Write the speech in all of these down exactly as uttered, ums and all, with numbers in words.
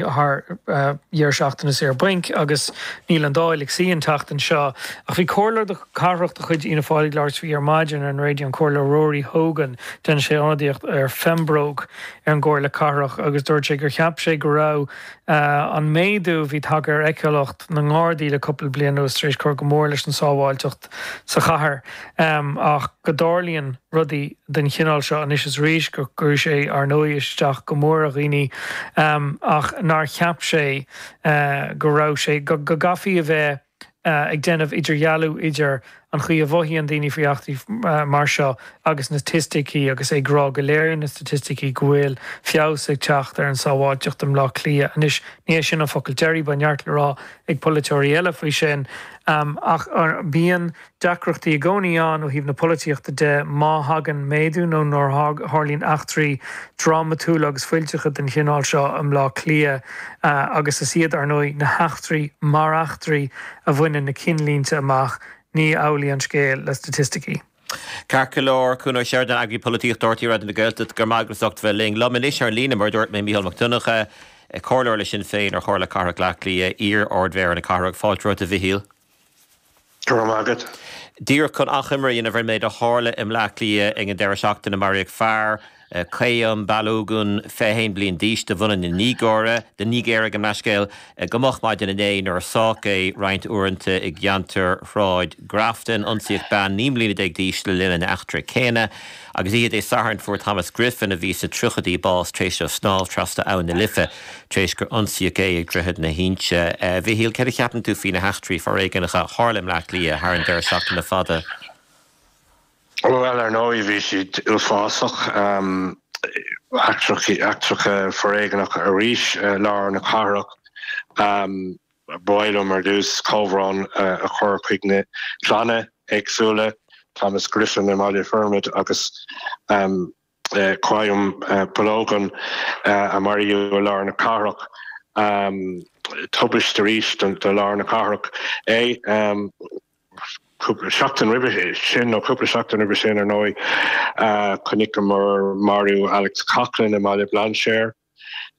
Thar dheireadh seachtaine saor bainc agus níl an Dáil ag suí an tseachtain seo. Ach bhí comhairleoir cathrach de chuid Fhianna Fáil ag labhairt faoi ar maidin ar an raidió, an Comhairleoir Rory Hogan. Déanann sé ionadaíocht ar Phembroke ar an gComhairle Cathrach agus dúirt sé gur cheap sé go raibh an méadú a bhí tagtha ar fheiceálacht na nGardaí le cúpla bliain anuas tar éis cur go mór leis an sábháilteacht sa chathair ach go dtarlaíonn rudaí den chineál seo anois is arís, go gcuireann sé ar ndóigh isteach go mór ar dhaoine ach nár cheap sé go raibh sé, go gcaithfí a bheith ag déanamh idirdhealú idir an chaoi a mhothaíonn daoine faoi eachtraí mar seo agus na staitisticí agus é ag rá go léiríonn na staitisticí go bhfuil feabhas ag teacht ar an sábháilteacht i mBleá Cliath. Anois, ní hé sin an focal deiridh, beidh neart le rá ag polaiteoirí eile faoi sin ach bíonn deacrachtaí i gcónaí ann ó thaobh na polaitíochta de má thagann méadú nó nuair a tharlaíonn eachtraí drámatúla agus fuilteacha den chineál seo i mBleá Cliath agus is iad, ar ndóigh, na heachtraí mar eachtraí a bhaineann na cinnlínte amach, ní amhlaidh an scéal le staitisticí. Ceart go leor, Cuan Ó Seireadáin, Eagraí Polaitíochta R T É Raidió na Gaeltachta, go raibh maith agat as ucht bheith linn. Liom anois ar an líne, mar a dúirt mé, Mícheál Mac Donncha, Comhairleoir le Sinn Féin ar Chomhairle Cathrach Bhaile Átha Cliath, iar-Ard-Mhéara na cathrach. Fáilte romhat, a Mhichíl. Go raibh maith agat. Díreach chun achoimre a dhéanamh ar an méid a tharla i mBleá Cliath ag an deireadh seachtaine, maraíodh fear, Qayyum Balogun, fiche haon bliain d'aois, de bhunadh na Nigéire, na Nigéire, gabh mo leithscéal, go moch maidin inné nuair a sádh é roinnt uaireanta i gceantar Shráid Grafton. Ionsaíodh bean naoi mbliana déag d'aois le linn an eachtra céanna. Agus oíche Dé Sathairn fuair Thomas Griffin, a bhí sna tríochaidí, bás tar éis dó snámh trasna Abhainn na Life tar éis gur ionsaíodh é ag Droichead na hInse. A Mhichíl, céard a cheapann tú faoi na heachtraí foréigneacha a tharla i mBleá Cliath thar an deireadh seachtaine fada? Bhuel, ar ndóigh, bhí siad uafásach. Eachtracha foréigneacha arís i lár na cathrach. Ba mhaith liom ar dtús comhbhrón a chur chuig na clanna éagsúla, Thomas Griffin i mBaile Formaid agus Qayyum Balogun a maraíodh i lár na cathrach. Tubaiste arís do lár na cathrach é. Cúpla seachtain roimhe sin, nó cúpla seachtain roimhe sin ar ndóigh, chonaiceamar marú Alex Coughlan i mBaile Bhlainséir.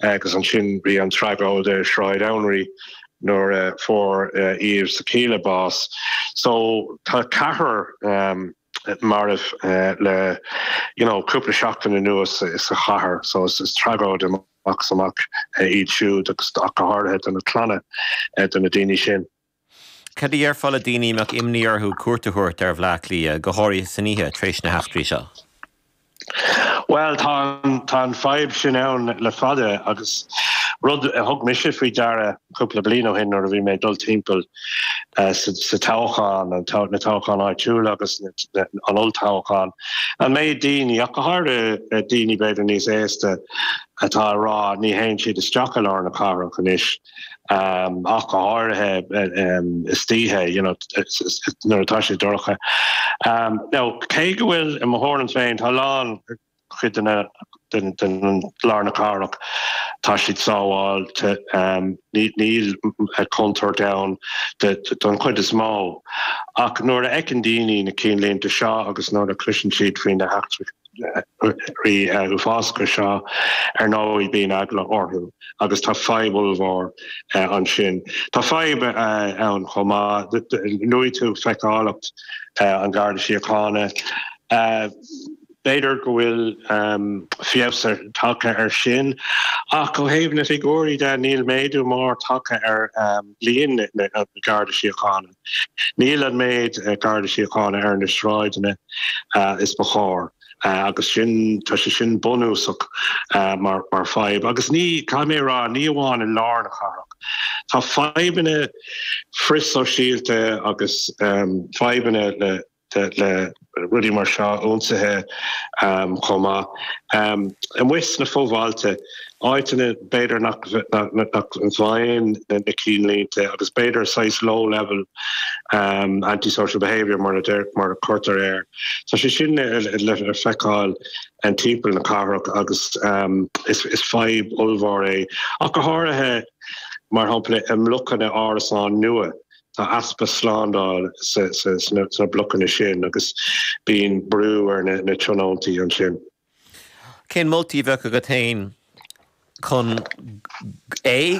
Agus ansin bhí an tragóid i Sráid Anraí nuair a fuair Yves Sakila bás. So tá ceathrar marbh le you know cúpla seachtain anuas sa chathair. So is tragóid amach is amach iad siúd agus ach go háirithe do na clanna de na daoine sin. Cad a dhéarfá le daoine a mbeadh imní orthu cuairt a thabhairt ar Bhleá Cliath, go háirithe san oíche, tar éis na heachtraí seo? Bhuel, tá tá an fadhb sin ann le fada agus rud a thug mise faoi deara cúpla bliain ó shin nuair a bhí mé ag dul timpeall sa toghchán, na toghcháin áitiúla agus an olltoghchán, an méid daoine, ach go háirithe daoine b'fhéidir níos aosta, atá ag rá ní théann siad isteach i lár na cathrach anois. ach go háirithe istoíche, you know, nuair atá sé dorcha. Now, cé go bhfuil, i mo thuairim féin, tá a lán cuid de na, den, den lár na cathrach, tá siad sábháilte, níl contúirt ann don chuid is mó. Ach nuair a fheiceann daoine na cinnlínte seo agus nuair a chloiseann siad faoi na heachtraí, uafásacha seo, ar ndóigh bíonn eagla orthu agus tá fadhb ollmhór ansin. Tá fadhb ann chomh maith, luaigh tú feiceálacht an Gharda Síochána. B'fhéidir go bhfuil feabhas tagtha air sin ach ó thaobh na figiúirí de níl méadú mór tagtha ar líon na Garda Síochána. Níl an méid Garda Síochána ar na sráideanna is ba chóir agus sin, tá sé sin bunúsach mar fadhb. Agus ní, caithfidh mé a rá, ní amháin i lár na cathrach. Tá fadhbanna frithshóisialta agus fadhbanna le. le rudaí mar seo, ionsaithe chomh maith. Amuigh sna fobhailte, áiteanna b'fhéidir nach bhfaigheann na cinnlínte agus b'fhéidir saghas low level anti-social behaviour mar a deir, mar a cuirtear air. Tá sé sin le feiceáil timpeall na cathrach agus is fadhb ollmhór é, ach go háirithe mar shampla i mblocanna árasán nua. Tá easpa slándáil sna blocanna sin agus bíonn brú ar na tionóntaí ansin. Cén moltaí a bheadh agat féin chun é